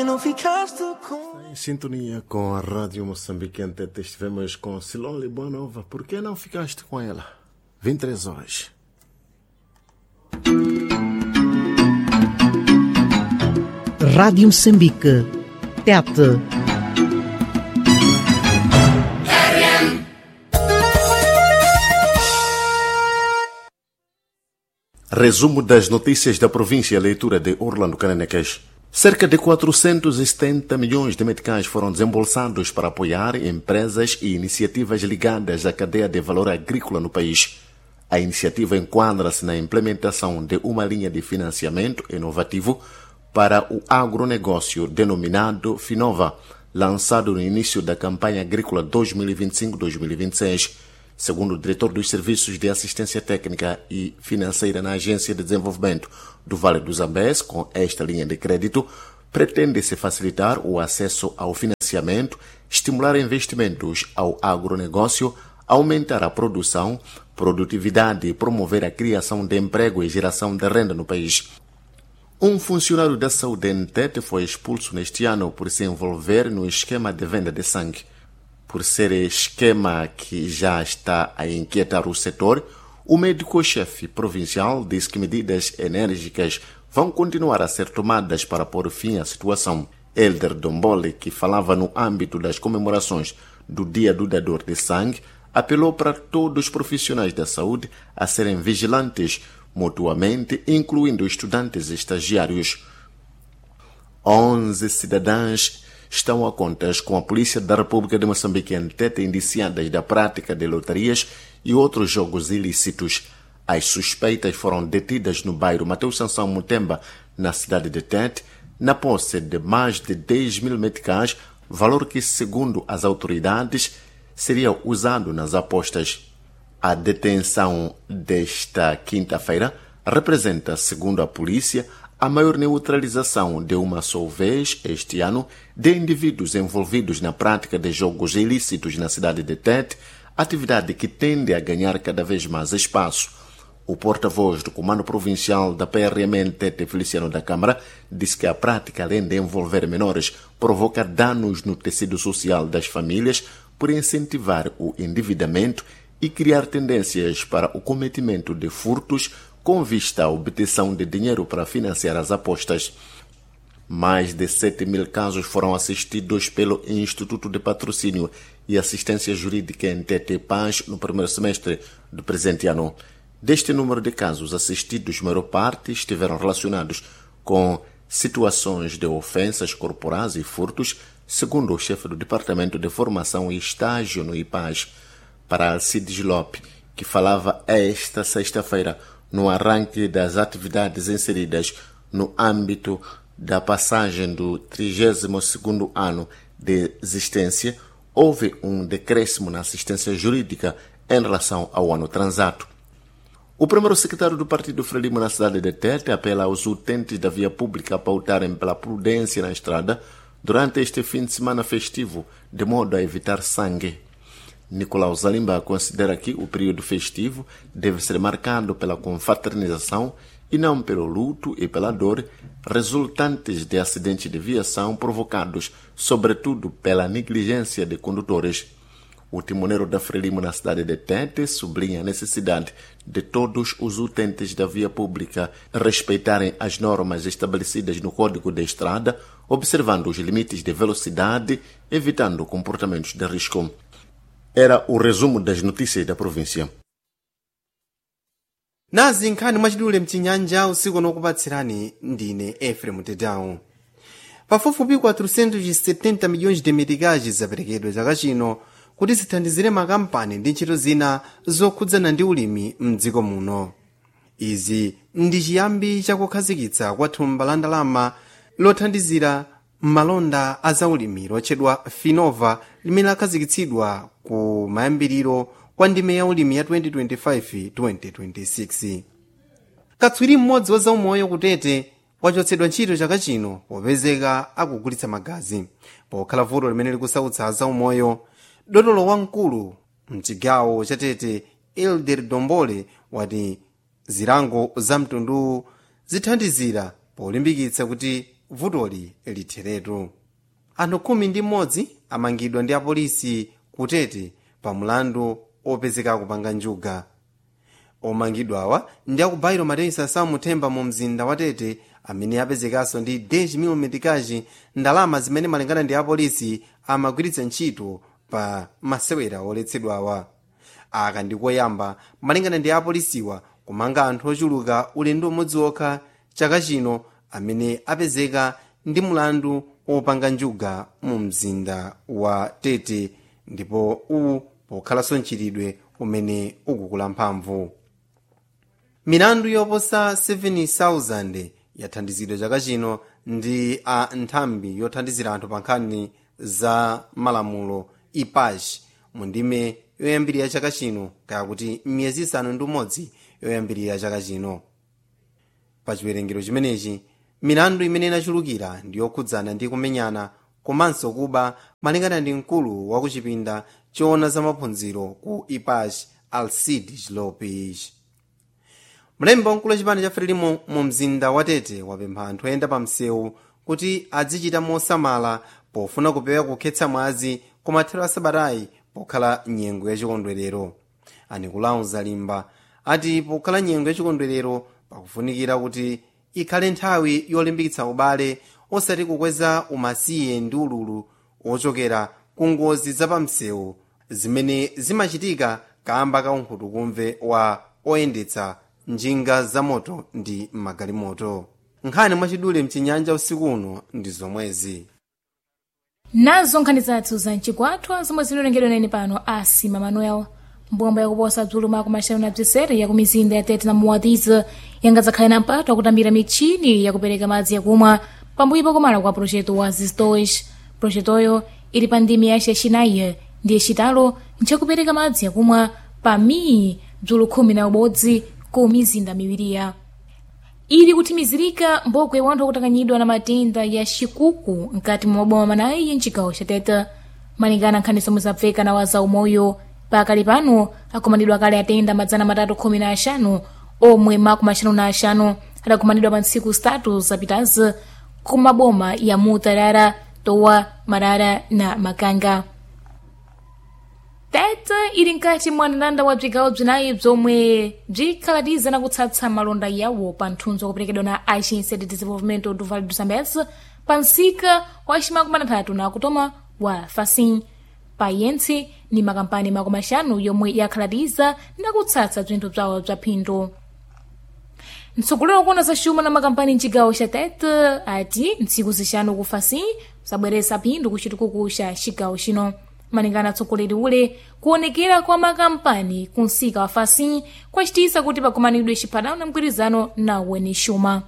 Não ficaste com. Em sintonia com a Rádio Moçambique em Tete, estivemos com Silon Nova. Por que não ficaste com ela? 23 horas. Rádio Moçambique. Tete. Resumo das notícias da província, leitura de Orlando Caneneques. Cerca de 470 milhões de meticais foram desembolsados para apoiar empresas e iniciativas ligadas à cadeia de valor agrícola no país. A iniciativa enquadra-se na implementação de uma linha de financiamento inovativo para o agronegócio denominado Finova, lançado no início da campanha agrícola 2025-2026. Segundo o diretor dos Serviços de Assistência Técnica e Financeira na Agência de Desenvolvimento do Vale do Zambeze, com esta linha de crédito, pretende-se facilitar o acesso ao financiamento, estimular investimentos ao agronegócio, aumentar a produção, produtividade e promover a criação de emprego e geração de renda no país. Um funcionário da saúde em Tete foi expulso neste ano por se envolver no esquema de venda de sangue. Por ser esquema que já está a inquietar o setor, o médico-chefe provincial disse que medidas enérgicas vão continuar a ser tomadas para pôr fim à situação. Elder Domboli, que falava no âmbito das comemorações do Dia do Dador de Sangue, apelou para todos os profissionais da saúde a serem vigilantes mutuamente, incluindo estudantes e estagiários. 11 cidadãs estão a contas com a Polícia da República de Moçambique em Tete indiciadas da prática de lotarias e outros jogos ilícitos. As suspeitas foram detidas no bairro Mateus Sansão Mutemba, na cidade de Tete, na posse de mais de 10 mil meticais, valor que, segundo as autoridades, seria usado nas apostas. A detenção desta quinta-feira representa, segundo a polícia, a maior neutralização de uma só vez este ano de indivíduos envolvidos na prática de jogos ilícitos na cidade de Tete, atividade que tende a ganhar cada vez mais espaço. O porta-voz do Comando Provincial da PRM Tete, Feliciano da Câmara, disse que a prática, além de envolver menores, provoca danos no tecido social das famílias por incentivar o endividamento e criar tendências para o cometimento de furtos com vista à obtenção de dinheiro para financiar as apostas. Mais de 7 mil casos foram assistidos pelo Instituto de Patrocínio e Assistência Jurídica em Tete Paz no primeiro semestre do presente ano. Deste número de casos assistidos, maior parte estiveram relacionados com situações de ofensas corporais e furtos, segundo o chefe do Departamento de Formação e Estágio no IPAS, para Alcides Lopes, que falava esta sexta-feira no arranque das atividades inseridas no âmbito da passagem do 32º ano de existência, houve um decréscimo na assistência jurídica em relação ao ano transato. O primeiro secretário do Partido Frelimo na cidade de Tete apela aos utentes da via pública a pautarem pela prudência na estrada durante este fim de semana festivo, de modo a evitar sangue. Nicolau Zalimba considera que o período festivo deve ser marcado pela confraternização e não pelo luto e pela dor resultantes de acidentes de viação provocados, sobretudo, pela negligência de condutores. O timoneiro da Frelimo na cidade de Tete sublinha a necessidade de todos os utentes da via pública respeitarem as normas estabelecidas no Código da Estrada, observando os limites de velocidade, evitando comportamentos de risco. Era o resumo das notícias da província. Nazi nkhani mwachidule mchinyanja usiku nokupatsirani ndine Efrem Tedawu. Pafupifupi 470 milhões de meticais zaperekedwa chaka chino kuti zithandizire makampani ndi ntchito zina zokhudzana ndi ulimi mdziko muno. Izi ndi chiyambi chakukhazikitsa kwa thumba la ndalama lothandizira malonda a zaulimi lotchedwa Finova limene lakhazikitsidwa ku mayambiriro kwa ndime ya ulimi ya 2025-2026. Katswiri mmodzi wa zaumoyo kutete wachotsedwa ntchito chaka chino popezeka akugulitsa magazi pokhala vuto limene likusautsa zaumoyo. Dotolo wamkulu mchigawo cha Tete Elder Dombole wati zilango za mtunduwu zithandizira polimbikitsa kuti vutoli litheretu. Anthu 11 amangidwa ndi apolisi kutete pa mulandu opezeka kupanga njuga. Omangidwawa ndi akubairo Mateyu Samuthemba mu mzinda wa Tete, amene apezekanso ndi 10 metikaji, ndalama zimene malingana ndi apolisi amagwiritsa ntchito pa masewera oletsedwawa. Aka ndikoyamba malingana ndi apolisiwa kumanga anthu ochuluka ulendo umodzi wokha chaka chino amene apezeka ndi mulandu wopanga njuga mu mzinda wa Tete, ndipo uwu pokhalanso mchitidwe umene ukukula mphamvu. Milandu yoposa 7,000 yathandizidwa chaka chino ndi a nthambi yothandizira anthu pa nkhani za malamulo IPAJ mu ndime yoyambirira chaka chino, kaya kuti miyezi 6 yoyambirira chaka chino. Pa chiwerengero chimenechi, milandu imene inachulukira ndi yokhudzana ndi kumenyana komanso kuba, malingana ndi mkulu wa kuchipinda choona za maphunziro ku IPAJ, Alcide Lopes. Mlembi wamkulu wa chipani cha Frelimo mu mzinda wa Tete wapempha anthu oyenda pa msewu kuti azichita mosamala pofuna kupewa kukhetsa mwazi kumathero a sabatayi pokhala nyengo yachikondwerero. Anikulawo Zalimba ati pokhala nyengo yachikondwerero pakufunikira kuti ikhale nthawi yolimbikitsa ubale, osati kukweza umasiye ndi ululu ochokera ku ngozi zapamsewu zimene zimachitika kamba ka unkhutukumve wa oyendetsa njinga zamoto ndi magalimoto. Nkhani mwachidule mchinyanja usiku uno ndi zomwezi. Nazo nkhani zathu za mchigwathwa zomwe zinalengedwa nene pano asima Manuel. Mbomba yakuposa bzulu mako maxanu na bzisere ya kumizinda ya Tete na Muwatiza yangadzakhale na mpato akutambira michini yakupereka madzi yakumwa pambuyo pakumala kwa projeto wa Zistos. Projetoyo ili pa ndimi ya chacinayi ndi yacitalo nchakupereka madzi yakumwa pa miyi bzulu 11 ku mizinda miwiriya. Ili kuthimizirika mbokwe ya wanthu akutanganyidwa na matenda ya xikuku mkati mwa maboma manayi mcigawo xa Tete, malingana nkhani zomwe zapfeka na waza umoyo. Pakali pano akumanidwa kale atenda 315 omwe 55 adakumanidwa pa ntsiku zitatu zapitazi ku maboma ya Mutarara, Towa, Marara na Makanga. Tete ili mkati mwa mndandanda wa bzigawo bzinayi bzomwe bzikhalatiza na kutsatsa malonda yawo pa nthunzi wakuperekedwa na Agência de Desenvolvimento do Vale do Zambeze pa msika wa cimakumanatatu na kutoma wa Facim. Payentsi ni makampani 50 yomwe yakhalatiza na kutsatsa bzinthu bzawo bza phindu. Mtsogoleri wakuona za xuma na makampani mcigawo xa Tete ati ntsiku zixanu ku Facim zabweresa phindu ku citukuku xa cigawo chino. Malingana atsogoleri ule, kuonekera kwa makampani ku msika wa Facim kwacitisa kuti pakumanidwe chiphatano na mgwirizano na weni xuma.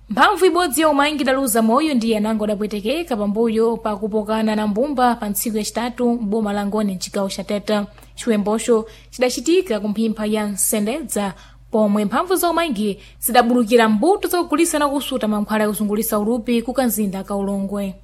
Mphamvu ibodzi ya umangi idaluza moyo ndi anango adapwetekeka pambuyo pakupokana na mbumba pa ntsiku yacitatu m'boma la Ngoni mcigawo xa Tete. Chiwembocho cidacitika ku mphimpha ya Nsendedza pomwe mphamvu za umangi zidabulukira mbuto zakugulisa na kusuta mankhwala yakuzungulisa ulupi ku kanzinda ka Ulongwe.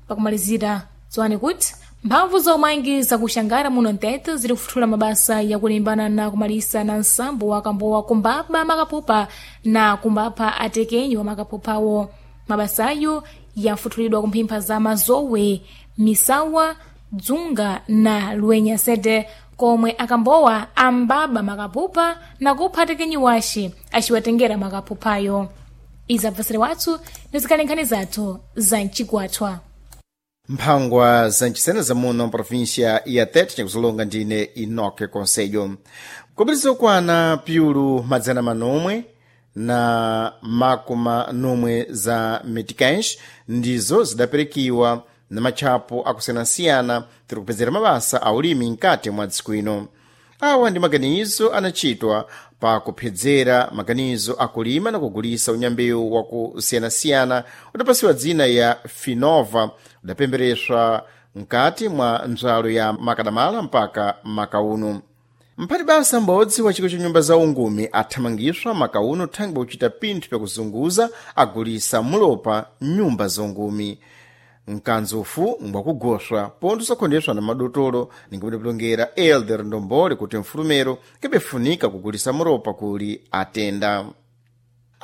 Pakumalizira, dziwani kuti mphamvu za umangi zakuxangara muno mtete ziri kufuthula mabasa yakulimbana na kumalisa na nsambo wa kambowa kumbaba makapupa na kumbapha atekenyi wa makapupawo. Mabasayo yafuthulidwa kumphimpha za Mazowe, Misawa, Dzunga na Lwenya sede komwe akambowa ambaba makapupa na kupha atekenyi wace aciwatengera makapupayo. Izi abvasire wathu nizikhale nkhani zathu za mcigwathwa. Mphangwa za ncisena za muno mprovíncia ya Tete nyakusolonga ndine Enoque Conselho. Kupitiriza kukwana piulu 860 za meticães ndizo zidaperekiwa na matchapo akusiyanasiyana tiri kupezera mabasa a ulimi mkati mwa dziko ino. Awa ndi maganizo anachitwa pa kuphedzera maganizo akulima na kugulisa unyambewu wakusiyanasiyana udapasiwa dzina ya Finova, udapembereswa mkati mwa ndzalo ya makadamala mpaka makauno. Mphati basa m'bodzi wa chiko cha nyumba za ungumi athamangiswa makauno thangwi kuchita pinthu pyakuzunguza agulisa mulopa nyumba zongumi. Mkanzufu ngwakugoswa pontho sakhondeswa na madotolo ningamudapilongera Elder Ndombole kuti mfulumero kebefunika kugulisa mulopa kuli atenda.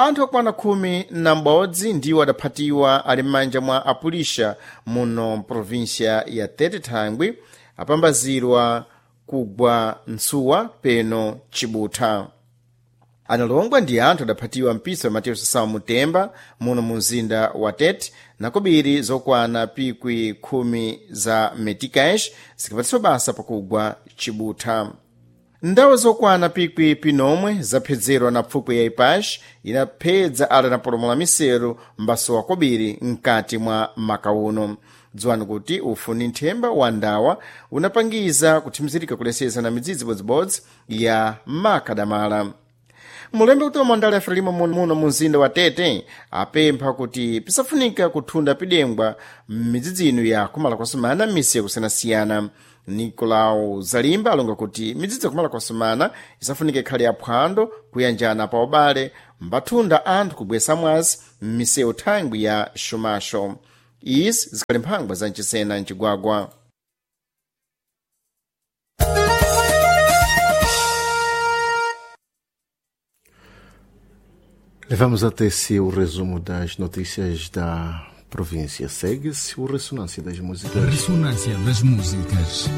Anthu okwana 11 ndiwo adaphatiwa ali m'manja mwa apulisha muno mprovinsia ya Tete Thangwi apambazirwa kugwa ntsuwa peno Chibutha. Analongwa ndi anthu adaphatiwa mpisa wa Mateus Sasao Mutemba muno mu mzinda wa Tete, nakobiri zokwana pikwi 10 za meticais zikapatsidwa basa pakugwa Chibutha. Ndawo zokwana pikwi pinomwe zaphedzerwa na pfukwi ya Ipash inaphedza ala napolomola miseru mbasowa kobiri mkati mwa maka uno. Dziwani kuti ufu ni nthemba wa ndawa unapangiza kuthimizirika kuleseza na midzidzi bodzibodzi ya makadamala. Mulembe kuti mandala ya Frelimo muno mu mzinda wa Tete apempha kuti pisafunika kuthunda pidengwa m'midzidzi ino ya kumala kwasumana m'misi yakusiyanasiyana. Nicolau Zalimba alonga kuti midzidzi yakumala kwasumana isafunika ikhale yaphwando kuyanjana pa ubale mbathunda anthu kubwesa mwazi m'misewu thangwi ya xumaxo. Izi zikhali mphangwa za mchisena mcigwagwa. Levamos até si o resumo das notícias da província. Segue-se o Ressonância das Músicas. Ressonância das Músicas.